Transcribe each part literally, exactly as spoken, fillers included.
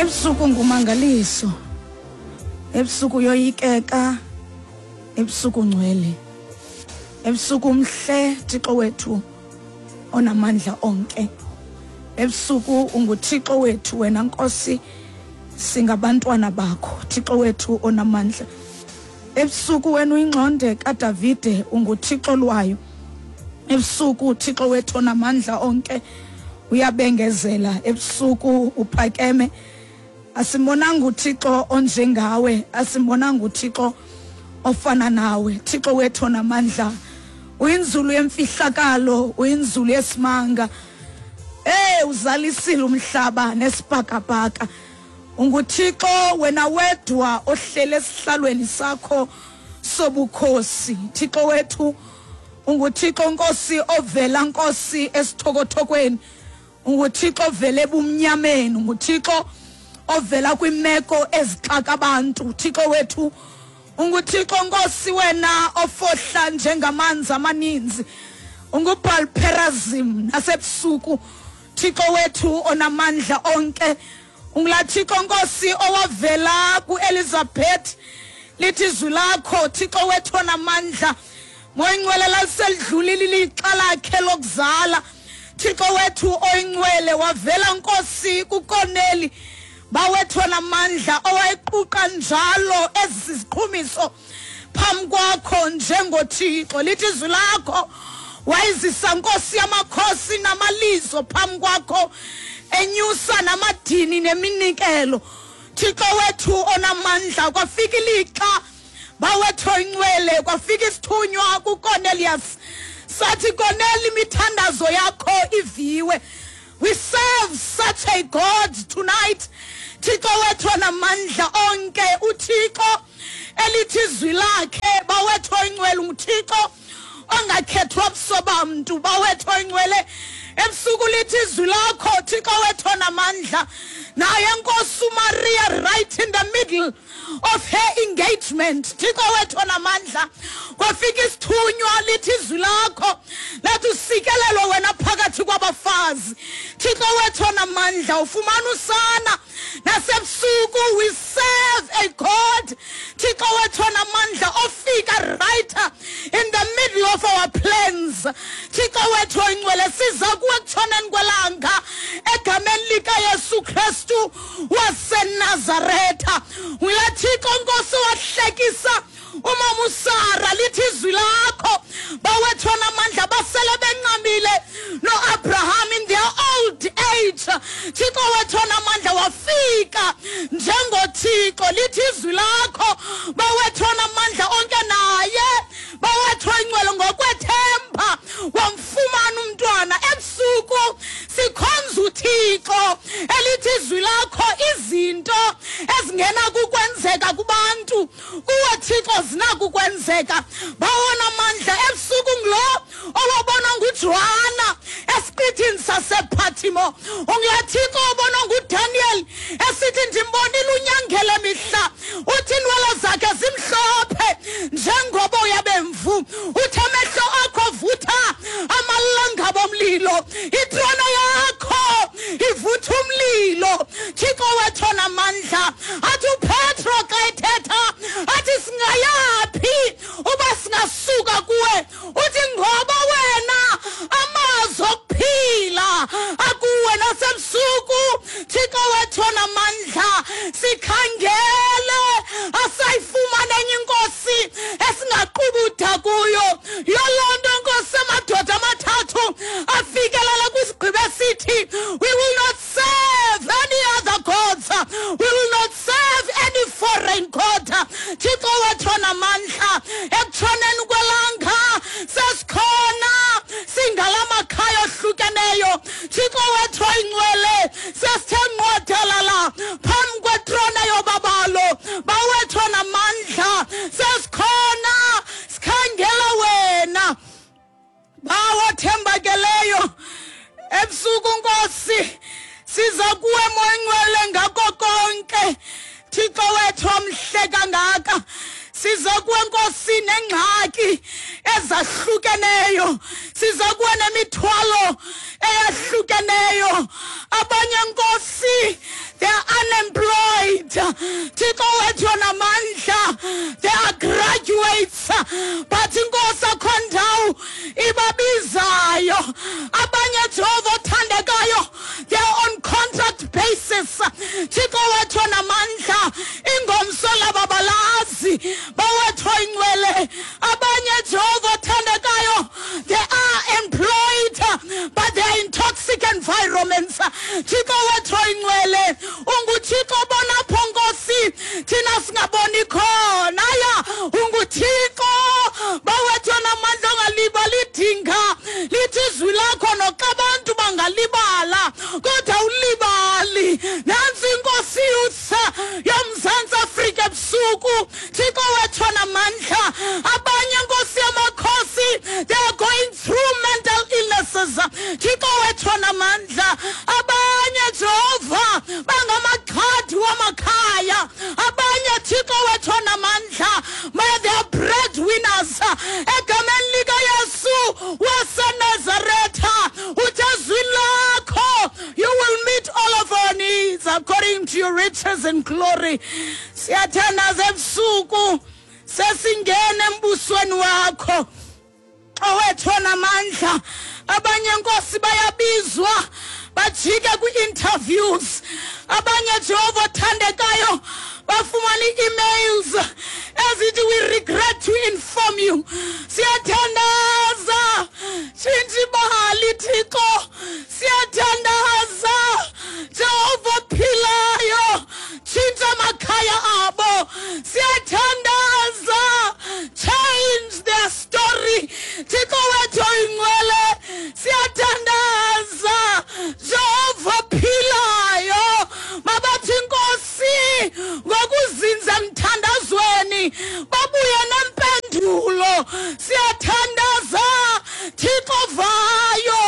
Ebusuku ngumangaliso, ebusuku yoyikeka, ebusuku ngcwele, ebusuku mhle Thixo wethu onamandla onke. Ebusuku unguThixo wethu wena Nkosi, singabantwana bakho Thixo wethu onamandla. Ebusuku wena uyingxonde kaDavide, unguThixo lwayo. Ebusuku Thixo wethu onamandla onke uyabengezela, ebusuku uphakeme. Asimbonanga uThixo onjengawe, asimbonanga uThixo ofana nawe. Thixo wethu onamandla, uyinzulu yemfihlakalo, uyinzulu yesimanga. Eh uzalisile umhlaba nesibhakabhaka. UnguThixo wena wedwa ohlele esihlalweni sakho sobukhosi. Thixo wethu unguThixo Nkosi ovela Nkosi esithokothokweni, unguThixo ovela ebumnyameni, unguThixo ovela kwimeko ezixaka abantu. Thixo wethu unguThixo Nkosi wena ofohla njengamanzi amaninzi, unguBhalperazim nasebusuku. Thixo wethu onamandla onke, ungula Thixo Nkosi owavela kuElizabeth, lithi izwi lakho Thixo wethu onamandla, moyingcwele laliselidlulile ilixa lakhe lokuzala. Thixo wethu oyingcwele wavela Nkosi kuKorneli, bawethu onamandla, owayequqa njalo ezisiqhumiso phambi kwakho njengoThixo. Lithi izwi lakho wayizisa Nkosi yamakhosi namalizo phambi kwakho, enyusa namadini neminikelo. Thixo wethu onamandla, kwafika ilixa bawethu oyingcwele, kwafika isithunywa kuCornelius, sathi Corneli, imithandazo yakho iviwe. We serve such a God tonight. Thixo wethu onamandla onke, uThixo elithi izwi lakhe bawethu oyingcwele unguThixo ongakhethwa buso bamntu. Bawethu oyingcwele, ebusuku lithi izwi lakho Thixo wethu onamandla, naye Nkosi uMaria right in the middle of her engagement. Thixo wethu onamandla, kwafika isithunywa lithi izwi lakho lathi usikelelwe wena phakathi kwabafazi. Thixo wethu onamandla, ufumana usana nasebusuku. We serve a God, Thixo wethu onamandla, ofika right in the middle of our plans. Thixo wethu oyingcwele, siza kuwe ekutshoneni kwelanga egameni likaYesu Kristu waseNazaretha. Uya Thixo Nkosi wahlekisa umama uSara, lithi izwi lakho bawethu onamandla, basele bencamile noAbraham in their old age. Thixo wethu onamandla wafika njengoThixo, lithi izwi lakho bawethu onamandla onke, naye bawethu oyingcwele ngokwethemba wamfumana umntwana. Ebusuku sikhonza uThixo elithi izwi lakho izinto ezingena kukwenzeka kubantu kuwe Thixo zinakukwenzeka. Bawona amandla, ebusuku ngulo owabonwa nguJohana esiqithini sasePatimo, ungula Thixo obonwa nguDaniel esithi ndimbonile unyangele mihla, uthi inwele zakhe zimhlophe njengoboya bemvu, uthi amehlo akho vutha amalanga bomlilo, itrona yakho ivutha umlilo. Thixo wethu onamandla, athi uPetro xa ethetha athi singayaphi uba singasuka kuwe, uthi ngoba wena amazwi okuphila akuwe nasebusuku. Thixo wethu onamandla, sikhangele asayifumana enye inkosi esingaqubuda kuyo. Yoloo nto Nkosi amadoda amathathu afikelela kwisigqibo esithi we will not serve any other gods, we will not serve any foreign god. Thixo wethu onamandla, ekutshoneni kwelanga sesikhona singalamakhaya ohlukeneyo. Thixo wethu oyingcwele, sesithe nqodelala phambi kwetrona yobabalo. Bawethu onamandla, sesikhona sikhangela wena. Bawo thembakeleyo, ebusuku Nkosi siza kuwe moyingcwele ngako konke. Thixo wethu omhle kangaka, siza kuwe Nkosi nengxaki ezahlukeneyo, siza kuwe nemithwalo eyahlukeneyo. Abanye Nkosi, they are unemployed. Thixo wethu onamandla, they are graduates, but inkosi akho ndawo ibabizayo. Abanye, Jehova othandekayo, they are on contract basis. Thixo wethu onamandla, ingomso laba balazi. Bawethu oyingcwele, abanye, Jehova othandekayo, they are employed, but they are in toxic environments. Thixo wethu oyingcwele, unguThixo obona apho, Nkosi, thina singaboni khona. Ya, unguThixo, bawethu onamandla, ongalibali idinga. Lithi izwi lakho, noxa abantu bangalibala, kodwa ulibali. Nantsi inkosi youth yoMzantsi Afrika ebusuku, Thixo wethu onamandla. Abanye, Nkosi yamakhosi, they are going through mental illnesses. Thixo wethu onamandla, abanye, Jehova, bangamaxhadi wamakhaya. Abanye, Thixo wethu onamandla, may they are breadwinners. Egameni likaYesu waseNazaretha, uthi ezwini lakho, you will meet all of our needs according to your riches and glory. Siyathandaza ebusuku, sesingena embusweni wakho, owethu onamandla. Abanye, Nkosi, bayabizwa, bajike kwi-interviews. Abanye, Jehova othandekayo, bafumana ii-emails ezithi, "We regret to inform you." Siyathandaza, tshintsha ibali, Thixo. Siyathandaza, Jehova ophilayo, tshintsha amakhaya abo. Siyathandaza, change their story, Thixo wethu oyingcwele. Siyathandaza, Jehova ophilayo, mabathi, Nkosi, ngokuzinza emthandazweni, babuye nempendulo. Siyathandaza, Thixo vayo,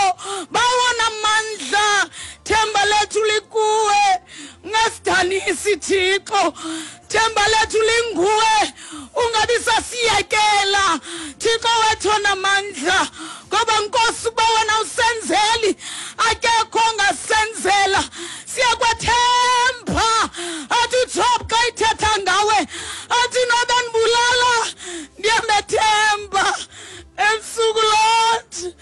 bawona mandla, themba lethu likuwe. Ungasidanisi, Thixo, themba lethu linguwe. Ungabi sasiyekela, Thixo wethu onamandla, ngoba, Nkosi, uba wena usenzeli, akekho ongasenzela. Siyakwethemba. Athi uJob xa ithetha ngawe, athi, "Noba ndibulala, ndiyamethemba." Ebusuku, Lord,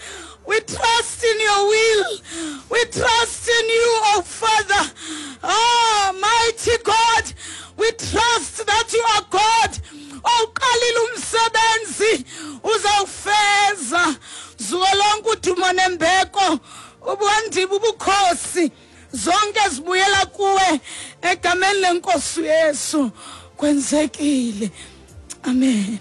we trust in your will, we trust in you, oh Father. Oh mighty God, we trust that you are God. Owuqalile umsebenzi, uzawufeza. Zuko lonke udumo nembeko, ubwandiba, ubukhosi, zonke zibuyela kuwe. Egameni leNkosi Yesu kwenzekile, amen.